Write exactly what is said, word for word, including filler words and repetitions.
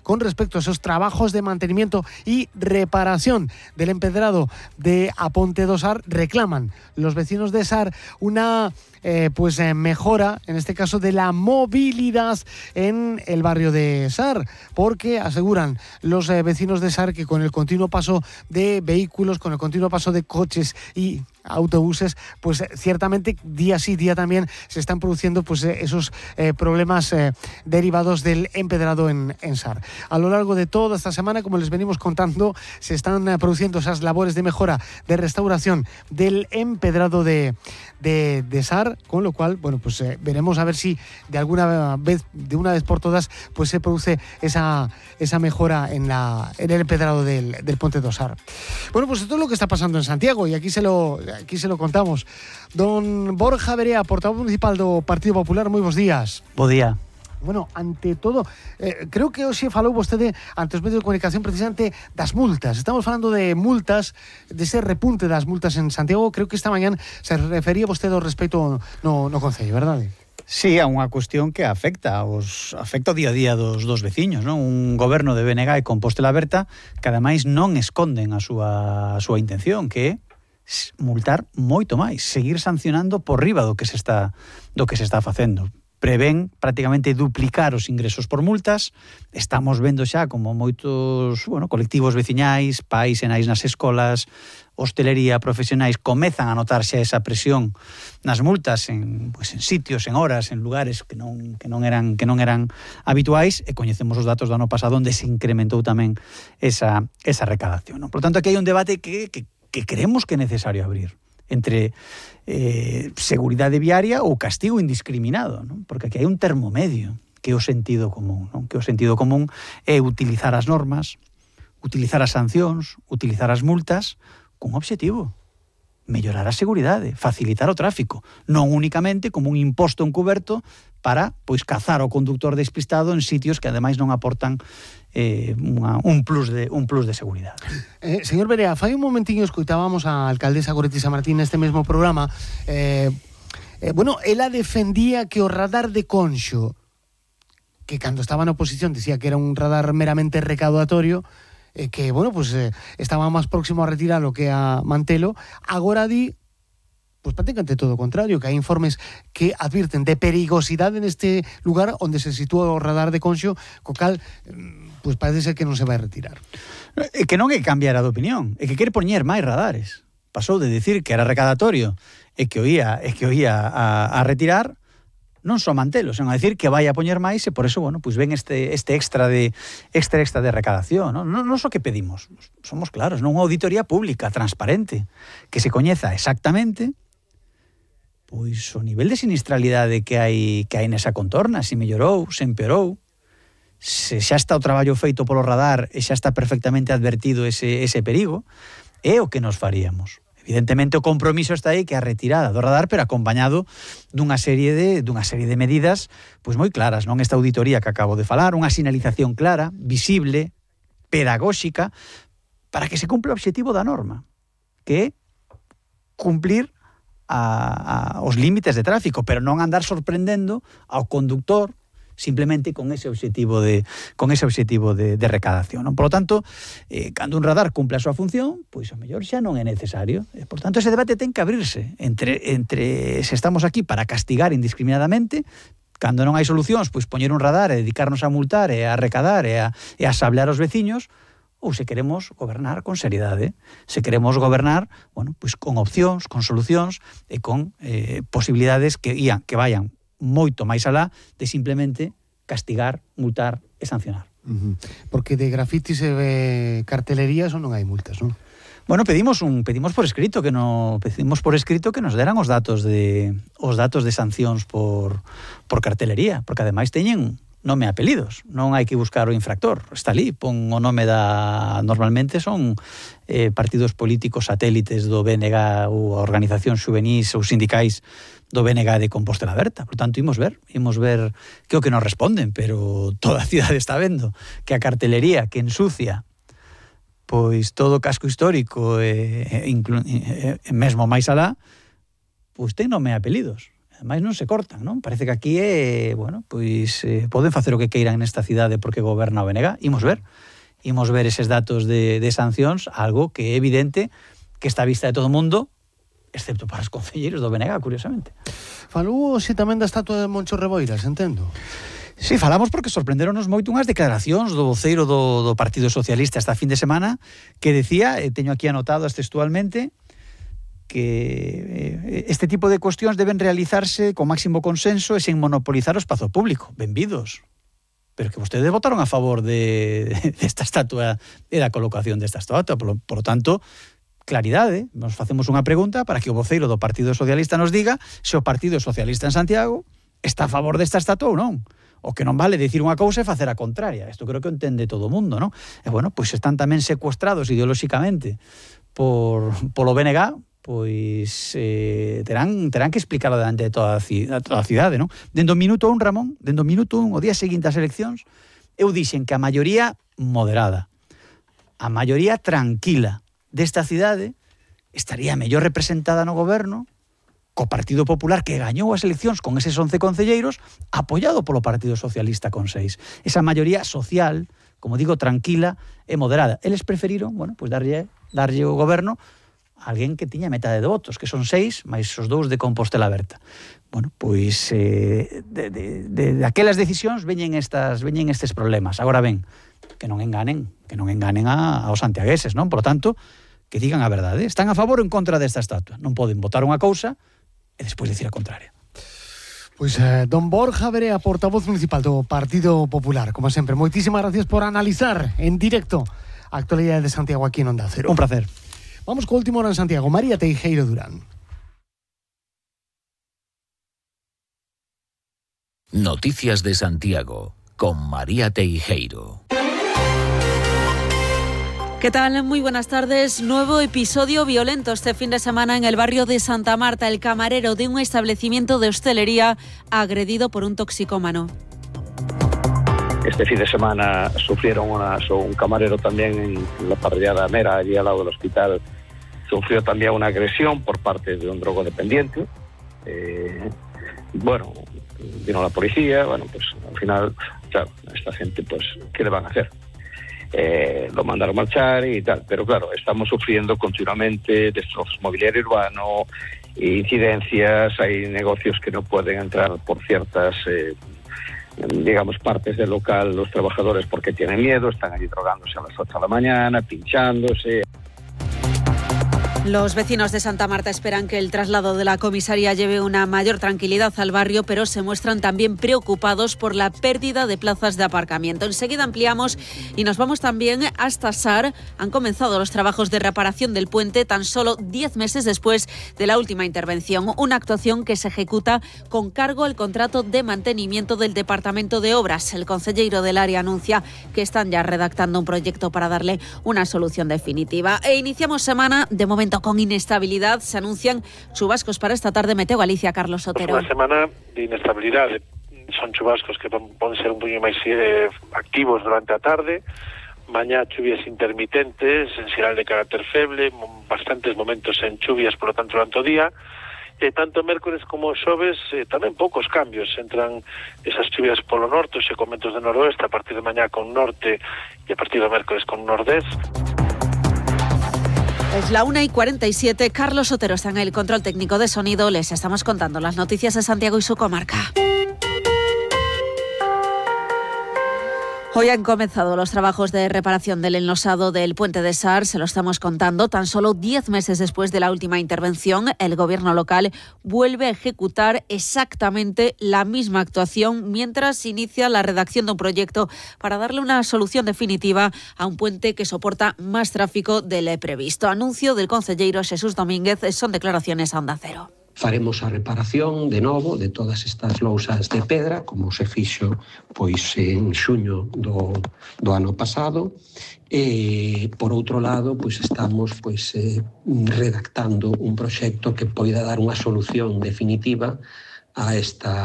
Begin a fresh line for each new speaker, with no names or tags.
con respecto a esos trabajos de mantenimiento y reparación del empedrado de A Ponte do Sar, reclaman los vecinos de Sar una eh, pues eh, mejora, en este caso, de la movilidad en el barrio de Sar, porque aseguran los eh, vecinos de Sar que con el continuo paso de vehículos, con el continuo paso de coches y autobuses, pues ciertamente día sí, día también se están produciendo pues esos eh, problemas eh, derivados del empedrado en, en Sar. A lo largo de toda esta semana, como les venimos contando, se están eh, produciendo esas labores de mejora, de restauración del empedrado de, de, de Sar, con lo cual, bueno, pues eh, veremos a ver si de alguna vez, de una vez por todas, pues se produce esa, esa mejora en, la, en el empedrado del, del Ponte do Sar. Bueno, pues esto es lo que está pasando en Santiago y aquí se lo Aquí se lo contamos. Don Borja Verea, portavoz municipal do Partido Popular, moi bons días.
Bo día.
Bueno, ante todo, eh, creo que hoxe falou vostede ante os medios de comunicación precisamente das multas. Estamos falando de multas, de ese repunte das multas en Santiago. Creo que esta mañán se refería vostede ao respecto no, no Concello, verdade?
Sí, a unha cuestión que afecta aos afecta o día a día dos, dos veciños, non? Un goberno de B N G e Compostela Berta que ademais non esconden a súa, a súa intención, que é multar moito máis, seguir sancionando por riba do que se está do que se está facendo. Prevén prácticamente duplicar os ingresos por multas. Estamos vendo xa como moitos, bueno, colectivos veciñais, pais e nais nas escolas, hostelería, profesionais comezan a notar xa esa presión nas multas en, pues, en sitios, en horas, en lugares que non que non eran que non eran habituais, e coñecemos os datos do ano pasado onde se incrementou tamén esa esa recadación, non? Por tanto, aquí hai un debate que que que creemos que é necesario abrir entre eh, seguridade viaria ou castigo indiscriminado, non? Porque aquí hai un termo medio que é o sentido común, non? Que o sentido común é utilizar as normas, utilizar as sancións, utilizar as multas con obxectivo: mellorar a seguridade, facilitar o tráfico, non únicamente como un imposto encuberto para, pois, cazar o conductor despistado en sitios que ademais non aportan eh, unha, un plus de un plus de seguridade.
Eh, señor Verea, fai un momentiño escoitábamos a alcaldesa Goretti Samartín neste mesmo programa. Eh, eh, bueno, ela defendía que o radar de Conxo, que cando estaba na oposición dicía que era un radar meramente recaudatorio, eh, que, bueno, pues eh, estaba máis próximo a retiralo que a mantelo. Agora di, pues prácticamente todo o contrario, que hai informes que advirten de perigosidade neste lugar onde se sitúa o radar de Conxo, co cal, pues parece ser que non se vai retirar.
É que non é cambiar a de opinión, é que quere poñer máis radares. Pasou de decir que era recadatorio e que o ia, e que o ia a, a retirar, non só mantelo, senón a decir que vai a poñer máis, e por eso, bueno, pues ven este este extra de extra extra de recadación, non? Non, non só que pedimos, somos claros, non unha auditoría pública, transparente, que se coñeza exactamente pois o nivel de sinistralidade que hai que hai nesa contorna, se mellorou, se empeorou, se xa está o traballo feito polo radar e xa está perfectamente advertido ese, ese perigo, é o que nos faríamos. Evidentemente o compromiso está aí, que a retirada do radar, pero acompañado dunha serie de dunha serie de medidas pois moi claras, non? Esta auditoría que acabo de falar, unha sinalización clara, visible, pedagóxica, para que se cumpla o obxectivo da norma, que é cumplir a, a, os límites de tráfico, pero non andar sorprendendo ao conductor simplemente con ese obxectivo de con ese obxectivo de, de recadación, non? Por lo tanto, eh, cando un radar cumpla a súa función, pois o mellor xa non é necesario. E, por tanto, ese debate ten que abrirse entre entre se estamos aquí para castigar indiscriminadamente, cando non hai solucións, pois poñer un radar e dedicarnos a multar e a recadar e a, e a sablear os veciños, ou se queremos gobernar con seriedade, se queremos gobernar, bueno, pois con opcións, con solucións e con eh, posibilidades que ían, que vayan moito máis alá de simplemente castigar, multar e sancionar.
Uh-huh. Porque de grafitis e de cartelerías non hai multas, non?
Bueno, pedimos un pedimos por escrito que no pedimos por escrito que nos deran os datos de os datos de sancións por por cartelería, porque ademais teñen nome e apelidos, non hai que buscar o infractor, está ali, pon o nome da... Normalmente son eh, partidos políticos satélites do B N G ou organizacións xuvenís ou sindicais do B N G de Compostela Berta. Por tanto, imos ver, imos ver que o que nos responden, pero toda a cidade está vendo que a cartelería que ensucia pois todo o casco histórico e, e, inclu, e, e mesmo máis alá, pois ten nome e apelidos. mais non se cortan, non? Parece que aquí é, bueno, pois eh, poden facer o que queiran nesta cidade porque goberna o B N G. Imos ver, imos ver eses datos de, de sancións, algo que é evidente que está a vista de todo o mundo, excepto para os concelleiros do B N G, curiosamente.
Falou xe tamén da estatua de Moncho Reboiras, entendo.
Sí, falamos porque sorprenderonos moito unhas declaracións do voceiro do, do Partido Socialista esta fin de semana que decía, e teño aquí anotadas textualmente, que este tipo de cuestións deben realizarse con máximo consenso e sen monopolizar o espazo público. Benvidos. Pero que vostedes votaron a favor de, de esta estatua e da colocación desta estatua. Por lo, por lo tanto, claridade. Nos facemos unha pregunta para que o voceiro do Partido Socialista nos diga se o Partido Socialista en Santiago está a favor desta estatua ou non. O que non vale dicir unha cousa e facer a contraria. Isto creo que entende todo o mundo, non? E bueno, pois están tamén secuestrados ideolóxicamente por, polo B N G, pois eh, terán, terán que explicarlo delante de toda a, a, toda a cidade, non? Dendo minuto un, Ramón, dendo minuto un, o día seguinte ás eleccións, eu dixen que a maioría moderada, a maioría tranquila desta cidade estaría mellor representada no goberno co Partido Popular que gañou as eleccións con eses once concelleiros, apoiado polo Partido Socialista con seis. Esa maioría social, como digo, tranquila e moderada. Eles preferiron, bueno, pois darlle, darlle o goberno alguén que tiña metade de votos, que son seis, máis os dous de Compostela Aberta. Bueno, pois eh, de, de, de, de aquelas decisións veñen estas veñen estes problemas. Agora ben, que non enganen, que non enganen a, aos santiagueses, non? Por lo tanto, que digan a verdade. Están a favor ou en contra desta estatua. Non poden votar unha cousa e despois dicir a contraria.
Pois eh, don Borja Verea, portavoz municipal do Partido Popular. Como sempre, moitísimas gracias por analizar en directo a actualidade de Santiago aquí en Onda Cero.
Un placer.
Vamos con último hora en Santiago. María Teijeiro Durán.
Noticias de Santiago con María Teijeiro.
¿Qué tal? Muy buenas tardes. Nuevo episodio violento este fin de semana en el barrio de Santa Marta. El camarero de un establecimiento de hostelería agredido por un toxicómano.
Este fin de semana sufrieron una, un camarero también en la parrillada Mera, allí al lado del hospital, sufrió también una agresión por parte de un drogodependiente. Eh, bueno, vino la policía, bueno, pues al final, claro, esta gente, pues, ¿qué le van a hacer? Eh, lo mandaron a marchar y tal, pero claro, estamos sufriendo continuamente destrozos mobiliario urbano, incidencias, hay negocios que no pueden entrar por ciertas... Eh, digamos, partes del local, los trabajadores porque tienen miedo, están allí drogándose a las ocho de la mañana, pinchándose.
Los vecinos de Santa Marta esperan que el traslado de la comisaría lleve una mayor tranquilidad al barrio, pero se muestran también preocupados por la pérdida de plazas de aparcamiento. Enseguida ampliamos y nos vamos también hasta Sar. Han comenzado los trabajos de reparación del puente tan solo diez meses después de la última intervención. Una actuación que se ejecuta con cargo al contrato de mantenimiento del Departamento de Obras. El concelleiro del área anuncia que están ya redactando un proyecto para darle una solución definitiva. E iniciamos semana, de momento, con inestabilidad. Se anuncian chubascos para esta tarde. Meteo Galicia, Carlos Sotero.
Pues unha semana de inestabilidade. Son chubascos que poden ser un poquinho máis eh, activos durante a tarde. Mañá chuvias intermitentes, en xeral de carácter feble, bastantes momentos en chuvias, por lo tanto, durante o día. E tanto mércores como xoves eh, tamén poucos cambios. Entran esas chuvias polo norte, xe con ventos de noroeste, a partir de mañá con norte e a partir do mércores con nordés.
Es la una y cuarenta y siete. Carlos Sotero está en el control técnico de sonido. Les estamos contando las noticias de Santiago y su comarca. Hoy han comenzado los trabajos de reparación del enlosado del puente de Sar, se lo estamos contando. Tan solo diez meses después de la última intervención, el gobierno local vuelve a ejecutar exactamente la misma actuación mientras inicia la redacción de un proyecto para darle una solución definitiva a un puente que soporta más tráfico del previsto. Anuncio del concelleiro Xesús Domínguez, son declaraciones a Onda Cero.
Faremos a reparación de novo de todas estas lousas de pedra, como se fixo pois en xuño do, do ano pasado. E, por outro lado, pois estamos pois, eh, redactando un proxecto que poida dar unha solución definitiva a esta